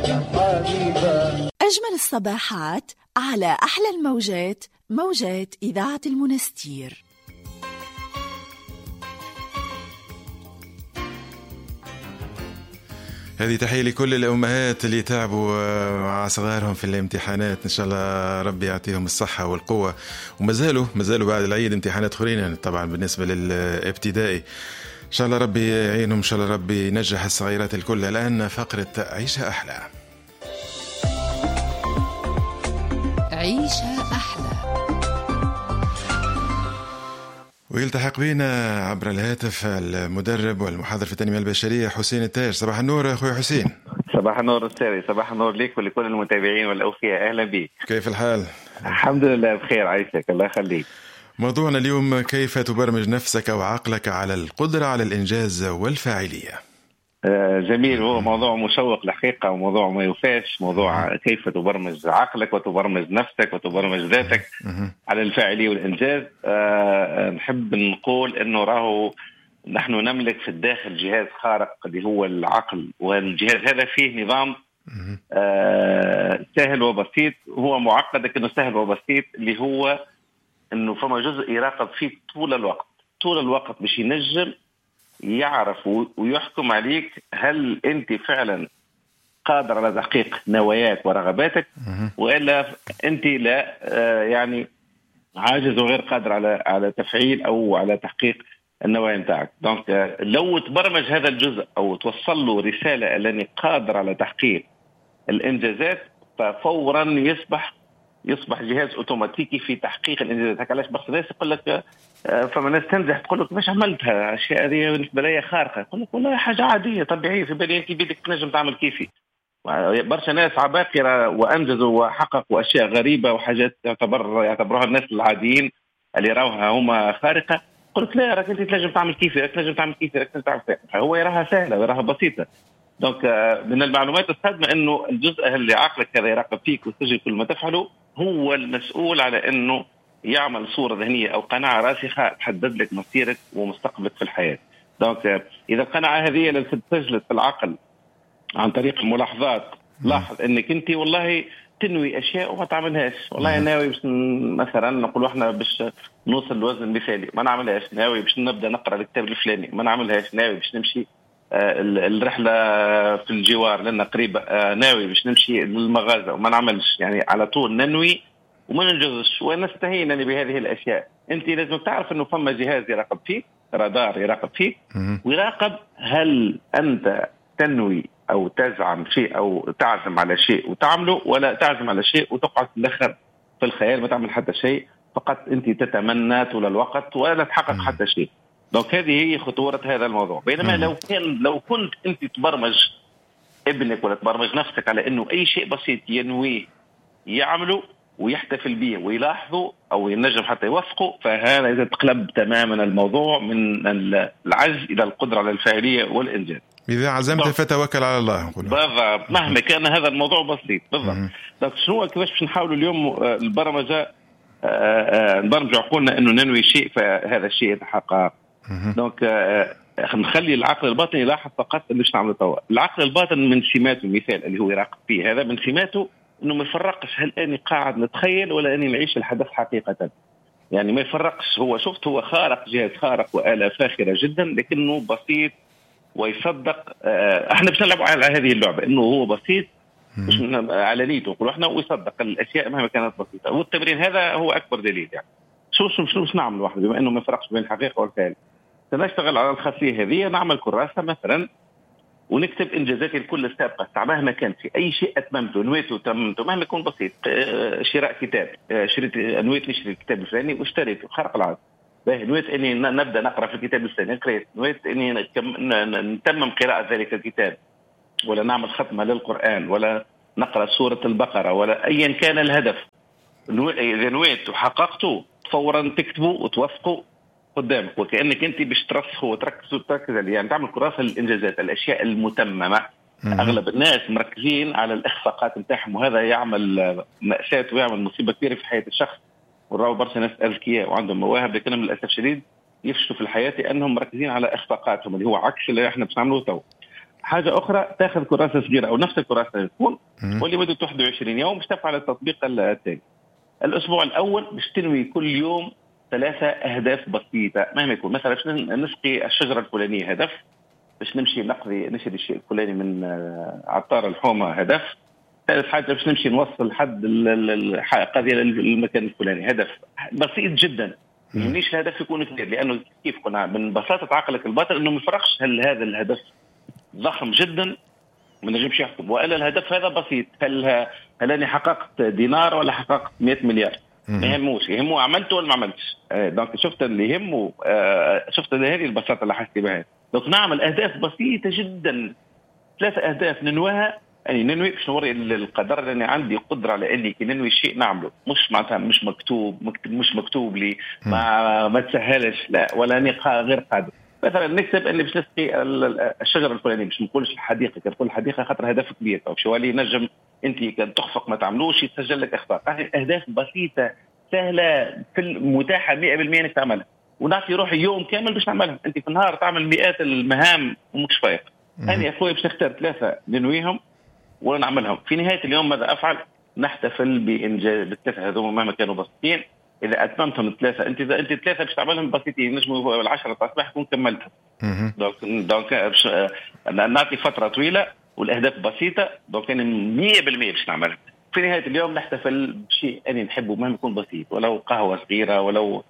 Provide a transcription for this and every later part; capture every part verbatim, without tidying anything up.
يا حبيبة. أجمل الصباحات على أحلى الموجات، موجات إذاعة المنستير. هذه تحية لكل الأمهات اللي تعبوا مع صغارهم في الامتحانات، إن شاء الله ربي يعطيهم الصحة والقوة. ومازالوا مازالوا بعد العيد امتحانات أخرين طبعا بالنسبة للابتدائي، إن شاء الله ربي يعينهم، إن شاء الله ربي ينجح الصغيرات الكل. الآن فقرة عيشها أحلى. عيشها أحلى. ويلتحق بنا عبر الهاتف المدرب والمحاضر في التنمية البشرية حسين التاج. صباح النور أخوي حسين. صباح النور أستاذي، صباح النور لك ولكل المتابعين والأوفياء، أهلا بك. كيف الحال؟ الحمد لله بخير، عايشك الله يخليك. موضوعنا اليوم كيف تبرمج نفسك وعقلك على القدرة على الإنجاز والفاعلية. جميل، هو موضوع مشوق الحقيقة وموضوع ما يفاش، موضوع كيف تبرمج عقلك وتبرمج نفسك وتبرمج ذاتك على الفاعلية والإنجاز. أه نحب نقول أنه راهو نحن نملك في الداخل جهاز خارق اللي هو العقل، والجهاز هذا فيه نظام أه سهل وبسيط، هو معقد لكنه سهل وبسيط، اللي هو أنه فما جزء يراقب فيه طول الوقت، طول الوقت باش ينجم يعرف ويحكم عليك هل أنت فعلا قادر على تحقيق نواياك ورغباتك وإلا أنت لا، يعني عاجز وغير قادر على على تفعيل أو على تحقيق النوايا نتاعك. donc لو تبرمج هذا الجزء أو توصل له رسالة أنني قادر على تحقيق الإنجازات، ففورا يصبح يصبح جهاز اوتوماتيكي في تحقيق الانجازات. هكا علاش برشا ناس يقول لك، فما ناس تنجح تقول لك باش عملتها الاشياء هذه بالنسبة لي خارقة، يقول لك والله حاجة عادية طبيعية، في بالي انت بيدك تنجم تعمل كيفي. برشا ناس عباقره وانجزوا وحققوا اشياء غريبة وحاجات تعتبر يعتبروها الناس العاديين اللي يراوها هما خارقة، يقول لك لا راك انت تنجم تعمل كيفي، راك تنجم تعمل كيفي، راك تنجم تعمل كيفي. هو يراها سهلة ويراها بسيطة. donc من المعلومات الصادمه انه الجزء اللي عقلك هذا يراقب فيك ويسجل كل ما تفعله هو المسؤول على انه يعمل صوره ذهنية او قناعة راسخة تحدد لك مصيرك ومستقبلك في الحياة. donc اذا القناعة هذه اللي تسجلت في العقل عن طريق الملاحظات، لاحظ انك انت والله تنوي اشياء وما تعملهاش، والله ناوي باش مثلا نقولوا احنا باش نوصل لوزن مثالي ما نعملهاش، ناوي باش نبدا نقرا الكتاب الفلاني ما نعملهاش، ناوي باش نمشي الرحلة في الجوار لنا قريبه، ناوي باش نمشي للمغازه وما نعملش. يعني على طول ننوي وما ننجزش ونستهين يعني بهذه الاشياء. انت لازم تعرف انه فما جهاز يراقب فيك، رادار يراقب فيك ويراقب هل انت تنوي او تزعم شيء او تعزم على شيء وتعمله، ولا تعزم على شيء وتقعد في الاخر في الخيال ما تعمل حتى شيء، فقط انت تتمنى طول الوقت ولا تحقق حتى شيء. donc هذه هي خطورة هذا الموضوع. بينما لو كان لو كنت أنت تبرمج ابنك ولا تبرمج نفسك على أنه أي شيء بسيط ينويه يعمله ويحتفل به ويلاحظه أو ينجم حتى يوثقه، فهذا إذا تقلب تماما الموضوع من العجز إلى القدرة على الفاعلية والإنجاز. إذا عزمت فتوكل على الله. بالضبط، مهما كان هذا الموضوع بسيط. بالضبط. donc شنو كيفاش باش نحاولوا اليوم البرمجة، نبرمج عقولنا أنه ننوي شيء فهذا الشيء يتحقق. donc نخلي العقل الباطن يلاحظ فقط اللي باش نعمله توا. العقل الباطن من سماته، المثال اللي هو يراقب فيه هذا من سماته انه ما يفرقش هل اني قاعد نتخيل ولا اني نعيش الحدث حقيقة. يعني ما يفرقش، هو شفت هو خارق، جهاز خارق وآلة فاخرة جدا، لكنه بسيط ويصدق. احنا باش نلعب على هذه اللعبة انه هو بسيط مش على نيته نقولوا احنا، ويصدق الاشياء مهما كانت بسيطة. والتمرين هذا هو اكبر دليل. يعني شو شو شو نعمل واحد بما انه ما يفرقش بين الحقيقة والخيال؟ سنشتغل على الخاصية هذه، نعمل كراسة مثلا ونكتب انجازاتي الكل السابقة مهما كان، في اي شيء اتممته نويته تممته مهما يكون بسيط. شراء كتاب، شريت نويت نشتري الكتاب الفلاني واشتريته، خرق العادة. باهي، نويت اني نبدا نقرا في الكتاب الفلاني قريت، نويت اني نتمم قراءة ذلك الكتاب، ولا نعمل ختمه للقران، ولا نقرا سورة البقرة، ولا ايا كان الهدف. اذا نويت وحققته فورا تكتبه وتوثقه قدامك، وكانك انت باش ترسخه وتركز وتركز عليه. يعني تعمل كراسة للانجازات، الاشياء المتممه. اغلب الناس مركزين على الاخفاقات نتاعهم، وهذا يعمل مأساة ويعمل مصيبة كبيرة في حياة الشخص. وراو برشا ناس اذكياء وعندهم مواهب، لكنهم للاسف الشديد يفشلوا في الحياة لانهم مركزين على اخفاقاتهم، اللي هو عكس اللي احنا باش نعملوه تو. حاجة اخرى، تاخذ كراسة صغيرة او نفس الكراسة تكون ولمده واحد وعشرين يوم باش تفعل التطبيق التالي. الاسبوع الاول باش تنوي كل يوم ثلاثة اهداف بسيطة مهما يكون. مثلا باش نسقي الشجرة الفلانية هدف، باش نمشي نقضي نشري الشيء الفلاني من عطار الحومه هدف، ثالث حاجة باش نمشي نوصل حد القضية للمكان الفلاني هدف. بسيط جدا، ما يهمنيش الهدف يكون كبير، لانه كيف قلنا من بساطة عقلك الباطن انه ما يفرقش هل هذا الهدف ضخم جدا ما نجمش يحكم، والا الهدف هذا بسيط، هل هل انا حققت دينار ولا حققت مئة مليار، ما يهموش، يهمه عملته ولا ما عملتش. donc شفت اللي يهمه، شفت هذه البساطة اللي حسيت بها. donc نعمل اهداف بسيطة جدا، ثلاث اهداف ننويها، يعني ننوي باش نوري القدر لاني عندي قدره على اني كي ننوي شيء نعمله، مش معناتها مش مكتوب مكتوب مش مكتوب لي ما ما تسهلش، لا ولا اني غير قادر. مثلا نكتب اني باش نسقي الشجرة الفلانية، باش ما نقولش الحديقة، كي تقول الحديقة خاطر هدف كبير او شوالي نجم انت كان تخفق ما تعملوش يتسجل لك اخفاق. اهداف بسيطة سهلة في المتاحة مئة بالمئة انك تعملها، ونعطي روحي يوم كامل باش نعملها. انت في النهار تعمل مئات المهام ومش فايق. انا يا اخويا باش نختار ثلاثة ننويهم ونعملهم. في نهاية اليوم ماذا افعل؟ نحتفل بانجاز بالثلاثة هذوما مهما كانوا بسيطين. اذا اتممتهم الثلاثة، انت اذا انت الثلاثة باش تعملهم بسيطين نجموا العشرة تاع الصباح تكون كملتهم. donc donc باش نعطي فترة طويلة والاهداف بسيطة، donc انا مئة بالمئة باش نعملها. في نهاية اليوم نحتفل بشيء انا نحبه مهما يكون بسيط، ولو قهوة صغيرة، ولو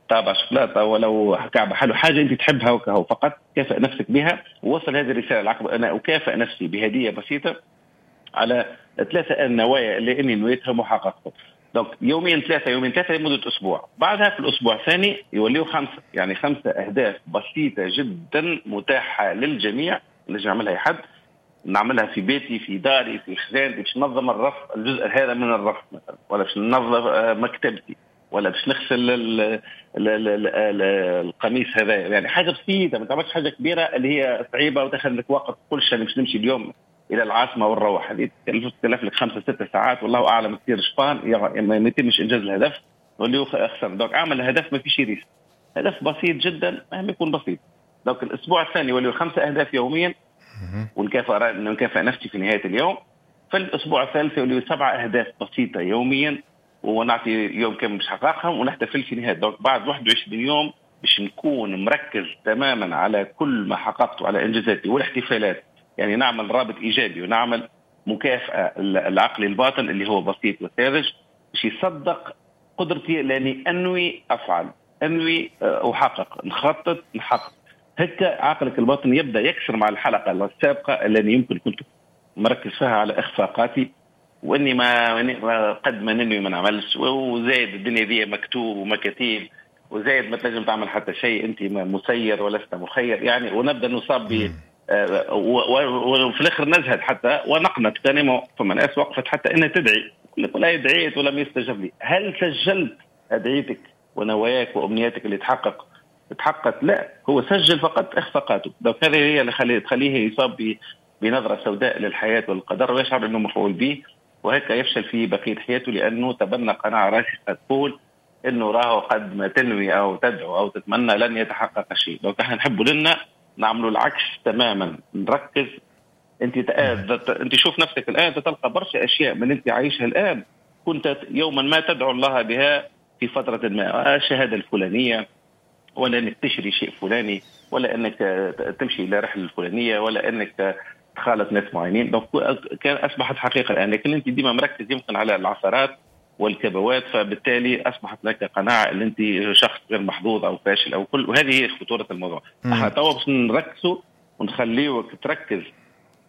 طابع شوكولاتة، ولو كعبه حلو، حاجة انت تحبها وكهو، فقط كافئ نفسك بها ووصل هذه الرسالة العقب. انا اكافئ نفسي بهديه بسيطة على ثلاثة النوايا اللي اني نويتها وحققتها. donc يومين ثلاثة يومين ثلاثة لمدة اسبوع، بعدها في الاسبوع الثاني يوليوا خمسة، يعني خمسة اهداف بسيطة جدا متاحة للجميع، نجم يعملها اي حد، نعملها في بيتي في داري في خزانتي، باش ننظم الرف الجزء هذا من الرف مثلا، ولا باش ننظف مكتبتي، ولا باش نغسل ال ال ال ال القميص هذا. يعني حاجة بسيطة، ما تعملش حاجة كبيرة اللي هي صعيبة وتاخذ لك وقت. كل شيء باش نمشي اليوم الى العاصمة ونروح، هذه تكلف لك خمسة ستة ساعات والله اعلم تصير شبان، ما يتمش انجاز الهدف واللي خسر. donc اعمل هدف ما فيش risque، هدف بسيط جدا مهما يكون بسيط. donc الاسبوع الثاني يولي خمسة اهداف يوميا ونكافئ نكافئ نفسي في نهاية اليوم. في الاسبوع الثالث يولي سبعة اهداف بسيطة يوميا ونعطي يوم كامل باش نحققهم ونحتفل في نهاية. donc بعد واحد وعشرين يوم باش نكون مركز تماما على كل ما حققته، على انجازاتي والاحتفالات. يعني نعمل رابط ايجابي ونعمل مكافاة العقل الباطن اللي هو بسيط وساذج باش يصدق قدرتي، لاني انوي افعل، انوي احقق، نخطط نحقق. هكا عقلك الباطن يبدا يكسر مع الحلقة السابقة اللي يمكن كنت مركز فيها على اخفاقاتي واني ما قد ما ننوي ما نعملش، وزايد الدنيا دي مكتوب ومكاتيب، وزايد ما تنجم تعمل حتى شيء، انت مسير ولست مخير يعني. ونبدا نصاب ب وفي الاخر نزهد حتى ونقنط. كان فما ناس وقفت حتى انها تدعي، لك ولا دعيت ولم يستجب لي. هل سجلت ادعيتك ونواياك وامنياتك اللي تحقق تحققت؟ لا، هو سجل فقط اخفاقاته. donc هذه هي اللي خليه تخليه يصاب بنظره سوداء للحياة والقدر ويشعر انه مفعول به، وهيك يفشل في بقية حياته، لانه تبنى قناعة راسخة تقول انه راهو قد ما تنوي او تدعو او تتمنى لن يتحقق شيء. donc احنا نحب لنا نعملوا العكس تماما، نركز. انت انت شوف نفسك الان تلقى برشا اشياء من انت عايشها الان كنت يوما ما تدعو الله بها في فترة ما، الشهادة الفلانية، ولا انك تشري شيء فلاني، ولا انك تمشي الى رحله الفلانية، ولا انك تخالط ناس معينين. donc كان اصبحت حقيقة الان، لكن انت ديما مركز يمكن على العثرات والكبوات، فبالتالي اصبحت لك قناعة ان انت شخص غير محظوظ او فاشل او كل، وهذه هي خطورة الموضوع. احنا توا باش نركزوا ونخليوك تركز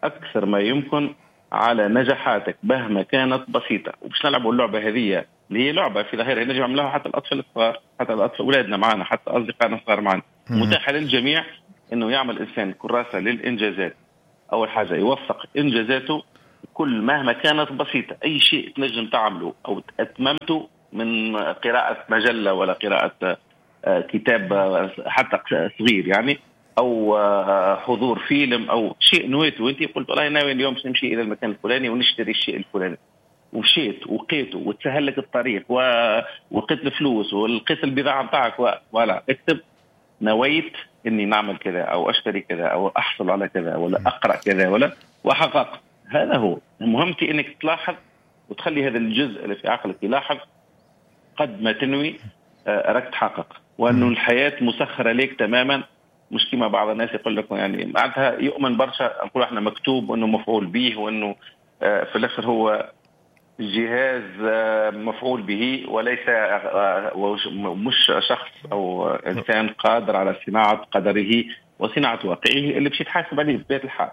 اكثر ما يمكن على نجاحاتك مهما كانت بسيطة، وباش نلعبوا اللعبة هذه اللي هي لعبه في ظاهرها نجم يعملوها حتى الاطفال الصغار، حتى الاطفال اولادنا معنا، حتى اصدقائنا الصغار معنا. متاحة للجميع انه يعمل انسان كراسة للانجازات. اول حاجة يوثق انجازاته كل مهما كانت بسيطة، اي شيء تنجم تعمله او اتممته من قراءة مجلة ولا قراءة كتاب حتى صغير يعني، او حضور فيلم او شيء نويته وانت قلت والله ناوي اليوم باش نمشي الى المكان الفلاني ونشتري الشيء الفلاني، ومشيت وقيته وتسهل لك الطريق ولقيت الفلوس ولقيت البضاعة نتاعك، ولا اكتب نويت اني نعمل كذا او اشتري كذا او احصل على كذا ولا اقرا كذا ولا وحققت. هذا هو مهمتي، انك تلاحظ وتخلي هذا الجزء اللي في عقلك يلاحظ قد ما تنوي راك تحقق، وانه الحياة مسخرة لك تماما. مش كما بعض الناس يقول لك يعني معناتها يؤمن برشا، نقول احنا مكتوب وانه مفعول به، وانه في الاخر هو جهاز مفعول به وليس مش شخص او انسان قادر على صناعة قدره وصناعة واقعه اللي باش يتحاسب عليه بطبيعة الحال.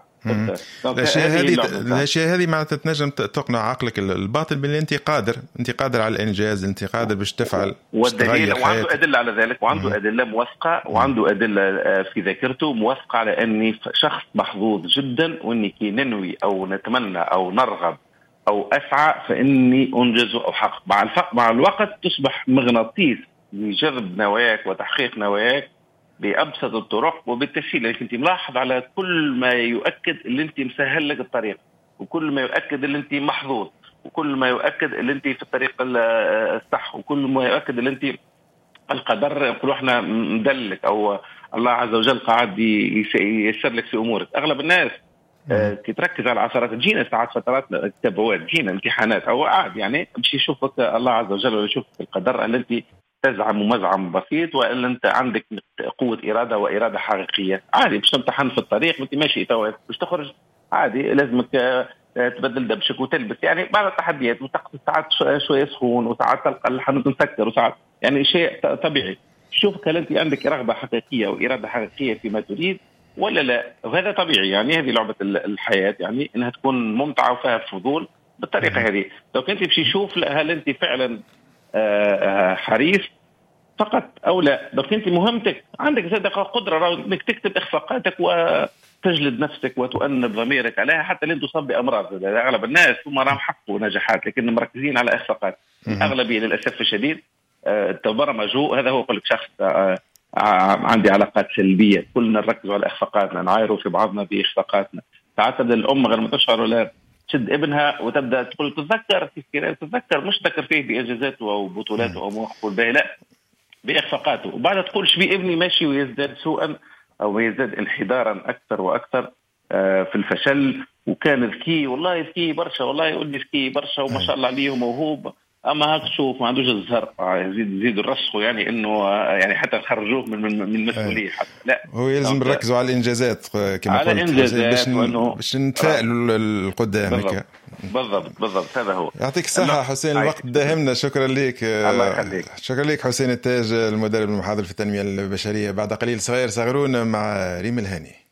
الاشياء هذه الاشياء هذه معناتها تنجم تقنع عقلك الباطن باللي انت قادر، انت قادر على الانجاز، انت قادر باش تفعل. والدليل وعنده ادلة على ذلك، وعنده ادلة موثقة، وعنده ادلة في ذاكرته موثقة على اني شخص محظوظ جدا، واني كي ننوي او نتمنى او نرغب او اسعى فاني انجز او احقق. مع الفق مع الوقت تصبح مغناطيس لجذب نواياك وتحقيق نواياك بأبسط الطرق وبالتسهيل. لكن انت ملاحظ على كل ما يؤكد اللي انت مسهل لك الطريق، وكل ما يؤكد اللي انت محظوظ، وكل ما يؤكد اللي انت في الطريق الصح، وكل ما يؤكد اللي انت القدر نقولوا احنا مدلك او الله عز وجل قاعد ييسر لك في امورك. اغلب الناس كي تركز على العثرات، تجينا ساعات فترات تبوات، تجينا امتحانات او عاد يعني باش يشوفك الله عز وجل ولا يشوفك القدر اللي انت تزعم مزعم بسيط، والا انت عندك قوة اراده واراده حقيقية. عادي باش تمتحن في الطريق وانت ماشي توا باش تخرج عادي لازمك تبدل دبشك وتلبس، يعني بعض التحديات، وتقص ساعات شوية سخون، وساعات تلقى الحانوت مسكر، وساعات يعني شيء طبيعي. شوفك هل انت عندك رغبة حقيقية واراده حقيقية فيما تريد ولا لا، وهذا طبيعي. يعني هذه لعبه الحياة، يعني انها تكون ممتعة وفيها فضول بالطريقة هذه. لو كنت باش يشوف هل انت فعلا حريص فقط او لا. donc انت مهمتك عندك زاد قدره انك تكتب اخفاقاتك وتجلد نفسك وتؤنب ضميرك عليها حتى لين تصاب بامراض. اغلب الناس هم راهم حققوا نجاحات لكن مركزين على اخفاقات. الاغلبية للاسف الشديد تبرمجوا. هذا هو يقول لك شخص عندي علاقات سلبية، كلنا نركزوا على اخفاقاتنا، نعايروا في بعضنا باخفاقاتنا. ساعات تبدا الام غير ما تشعر ولا تشد ابنها وتبدا تقول تتذكر كيف تتذكر، مش تذكر فيه بانجازاته او بطولاته او مواقفه الباهيه، لا باخفاقاته، وبعدها تقول شبي ابني ماشي ويزداد سوءا او يزداد انحدارا اكثر واكثر في الفشل، وكان ذكي والله ذكي برشا، والله يقول لي ذكي برشا وما شاء الله عليه وموهوب، اما هاك تشوف ما عندوش الزهر، يزيد يزيد الرسخ يعني انه يعني حتى خرجوه من من المسؤولية حتى. لا هو يلزم نركزوا على الانجازات كما على قلت، باش باش نتفائلوا للقدام. بالضبط بالضبط بالضبط هذا هو. يعطيك الصحة حسين، الوقت داهمنا. شكرا لك. الله يخليك. شكرا لك حسين التاج المدرب المحاضر في التنمية البشرية. بعد قليل صغير صغرون مع ريم الهاني.